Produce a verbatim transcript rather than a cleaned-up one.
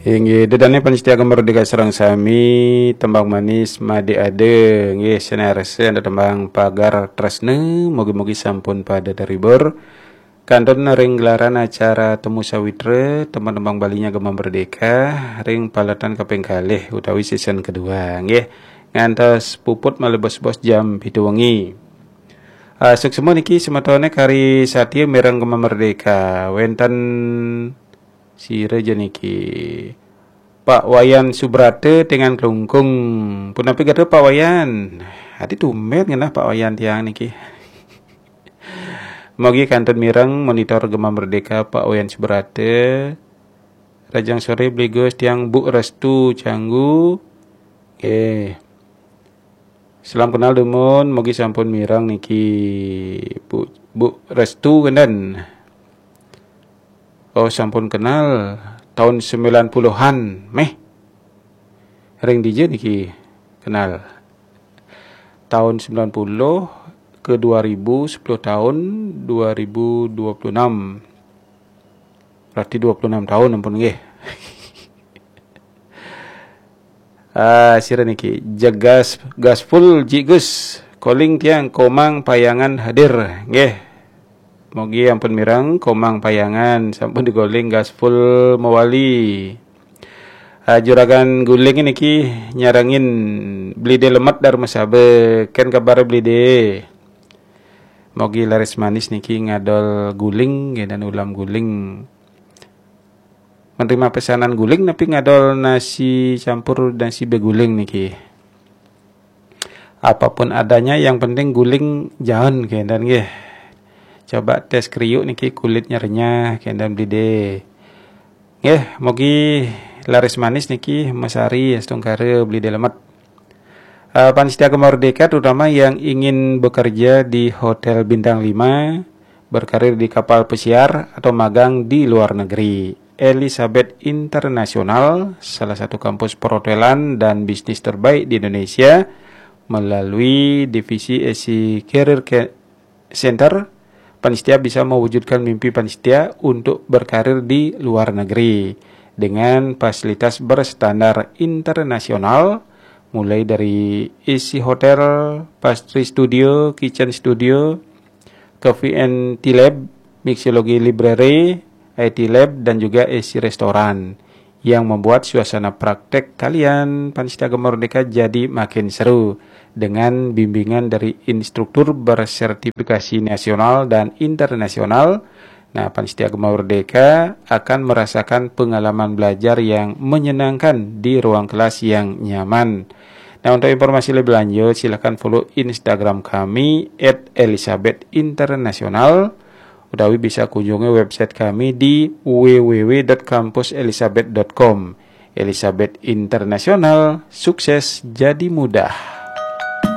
Inggih, ida dané pamiarsa Gema Merdeka sareng sami, tembang manis Made Ade. Inggih, sanésé ada tembang Pagar Tresna, mugi-mugi sampun pada terhibur. Kantun ring gelaran acara Temu Sawitra, tembang-tembang Baliné Gema Merdeka, ring paletan kaping kalih utawi season kedua, inggih. Ngantos puput malih bos-bos jam pitu wengi. Ah, suksma niki semetoné kari satia mireng Gema Merdeka. Wénten sira ja niki. Pak Wayan Subrata Tengan Klungkung. Punapi gatra Pak Wayan? Adi tumbén ngenah Pak Wayan tiang niki. Mugi kantun mireng monitor Gema Merdeka Pak Wayan Subrata. Rahajeng soré Bli Gus, tiang Bu Restu Canggu. Nggih. Salam kenal dumun, mugi sampun mireng niki Bu, Bu Restu kénten. Oh, sampun kenal tahun sembilan puluhan, méh. Ring dija niki kenal? Tahun sembilan puluh ke dua ribu, sepuluh tahun, dua ribu dua puluh enam. Berarti dua puluh enam tahun ampun nggih. Ah, sira niki, jegas gaspul Ji Gus, calling tiang Komang Payangan hadir. Nggih. Mugi ampun mireng Komang Payangan, sampun di-calling gaspul mawali. Ah, Juragan Guling niki nyarengin Bli Dé Lemet Darmasaba, kén kabar Bli Dé? Mugi laris manis niki ngadol guling, nggih, dan ulam guling. Menerima pesanan guling, napi ngadol nasi campur nasi beguling niki? Apapun adanya, yang penting guling jaen, kénten nggih. Coba tes kriuk niki, kulitnya renyah, kénten Bli Dé. Nggih, mugi laris manis niki, mesari astungkara Bli Dé Lemet. Eh, pamiarsa Gema Merdeka, terutama yang ingin bekerja di hotel bintang lima, berkarir di kapal pesiar, atau magang di luar negeri. Elizabeth International, salah satu kampus perhotelan dan bisnis terbaik di Indonesia, melalui divisi Asia Career Ca-, Center, pamiarsa bisa mewujudkan mimpi pamiarsa untuk berkarir di luar negeri dengan fasilitas berstandar internasional, mulai dari A C hotel, pastry studio, kitchen studio, coffee and tea lab, mixology library, I T lab, dan juga A C restoran yang membuat suasana praktek kalian pamiarsa Gema Merdeka jadi makin seru dengan bimbingan dari instruktur bersertifikasi nasional dan internasional. Nah, pamiarsa Gema Merdeka akan merasakan pengalaman belajar yang menyenangkan di ruang kelas yang nyaman. Nah, untuk informasi lebih lanjut, silakan follow Instagram kami at elizabeth international, utawi bisa kunjungi website kami di w w w dot kampus elizabeth dot com. Elizabeth Internasional, sukses jadi mudah.